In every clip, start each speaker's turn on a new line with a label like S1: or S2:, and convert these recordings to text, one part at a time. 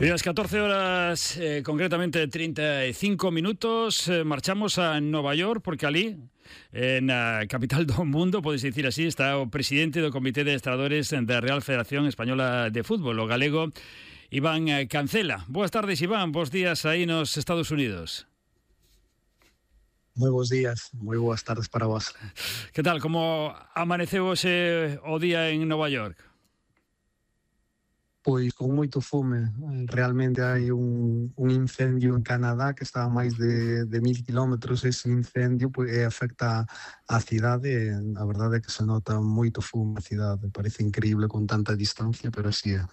S1: Y a las 14 horas, concretamente 35 minutos, marchamos a Nova York porque ali, na capital do mundo, podes dicir así, está o presidente do Comité de Adestradores da Real Federación Española de Fútbol, o galego Iván Cancela. Boas tardes, Iván, bons días aí nos Estados Unidos.
S2: Moi bons días, moi boas tardes para vos.
S1: Que tal, como amaneceu hoxe o día en Nova York?
S2: Pois con moito fume. Realmente hai un incendio en Canadá que está a máis de 1000 kilómetros. Ese incendio afecta a cidade. A verdade é que se nota moito fume na cidade. Parece increíble con tanta distancia, pero así é.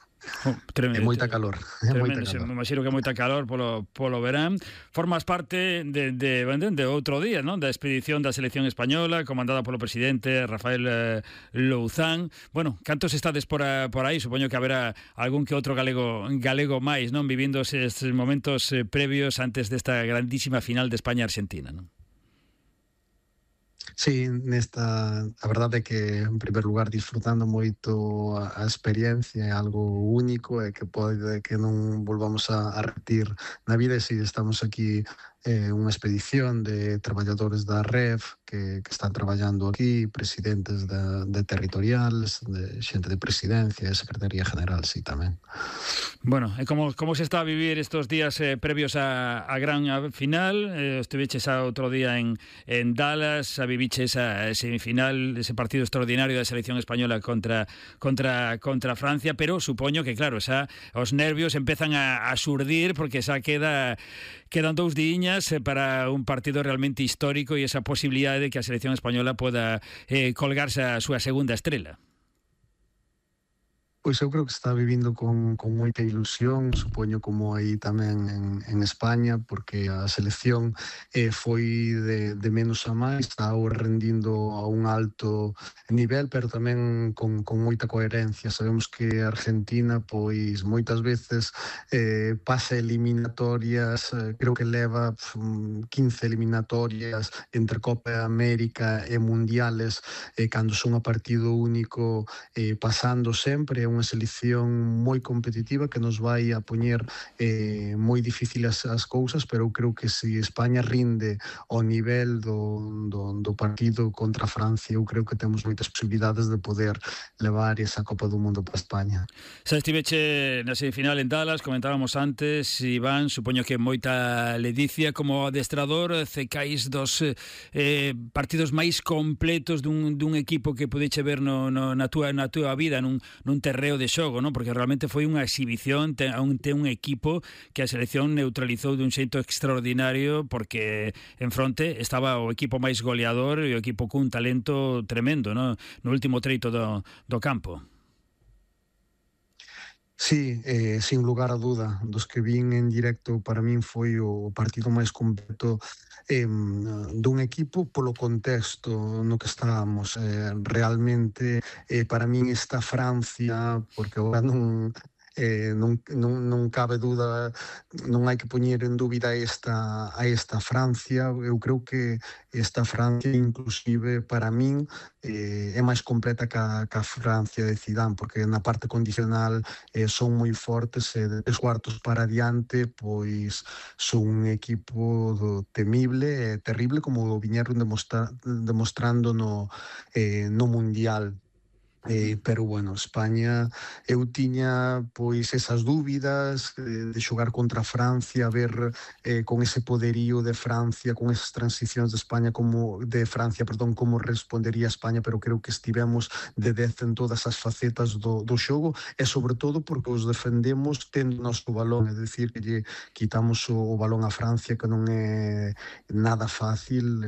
S1: Tremendo,
S2: é moita calor.
S1: Tremendo, me imagino que é moita calor polo verán. Formas parte de outro día, non? Da expedición da selección española comandada polo presidente Rafael Louzán. Bueno, cantos estades por aí? Supoño que haberá algún que outro galego máis, non? Vivindo estes momentos previos antes desta grandísima final de España-Argentina, non?
S2: Sí, a verdade é que, en primer lugar, disfrutando moito a experiencia, é algo único e que pode que non volvamos a repetir na vida. E si estamos aquí unha expedición de traballadores da REF que están traballando aquí, presidentes de territoriales, de xente de presidencia e secretaría general, sí, tamén.
S1: Bueno, e como se está a vivir estos días previos a gran final? Estuviches outro día en Dallas, viviches a semifinal, ese partido extraordinario da selección española contra Francia, pero supoño que, claro, os nervios empezan a xurdir porque xa quedan 2 diñas para un partido realmente histórico e esa posibilidade de que a selección española poda colgarse a súa segunda estrela.
S2: Pois eu creo que está vivindo con moita ilusión, supoño como aí tamén en España, porque a selección foi de menos a máis, está rendindo a un alto nivel, pero tamén con moita coherencia. Sabemos que Argentina, pois moitas veces pasa eliminatorias, creo que leva 15 eliminatorias entre Copa América e Mundiales, cando son a partido único, pasando sempre. Unha selección moi competitiva que nos vai a poñer moi difíciles as cousas, pero eu creo que se España rinde ao nivel do partido contra Francia, eu creo que temos moitas posibilidades de poder levar esa Copa do Mundo para España.
S1: Xa estiveche na semifinal en Dallas, comentábamos antes, Iván, supoño que moita ledicia como adestrador, cecais dos partidos máis completos dun equipo que pudeche ver na túa vida, nun terreno de xogo, non? Porque realmente foi unha exhibición, ten un equipo que a selección neutralizou dun xeito extraordinario, porque en fronte estaba o equipo máis goleador e o equipo cun talento tremendo, non? No último treito do campo.
S2: Sí, sin lugar a duda, dos que vin en directo, para min foi o partido máis completo dun equipo polo contexto no que estábamos. Realmente, para min esta Francia, porque agora non cabe dúda, non hai que poñer en dúbida a esta Francia. Eu creo que esta Francia, inclusive para min, é máis completa que a Francia de Zidane, porque na parte condicional son moi fortes e de 3 cuartos para diante pois son un equipo temible e terrible, como o viñeron demostrando no Mundial. Pero bueno, España, eu tiña pois esas dúbidas de xogar contra Francia, ver con ese poderío de Francia, con esas transicións de Francia, como respondería España, pero creo que estivemos de 10 en todas as facetas do xogo, e sobre todo porque os defendemos tendo o noso balón, é dicir, que lle quitamos o balón a Francia, que non é nada fácil.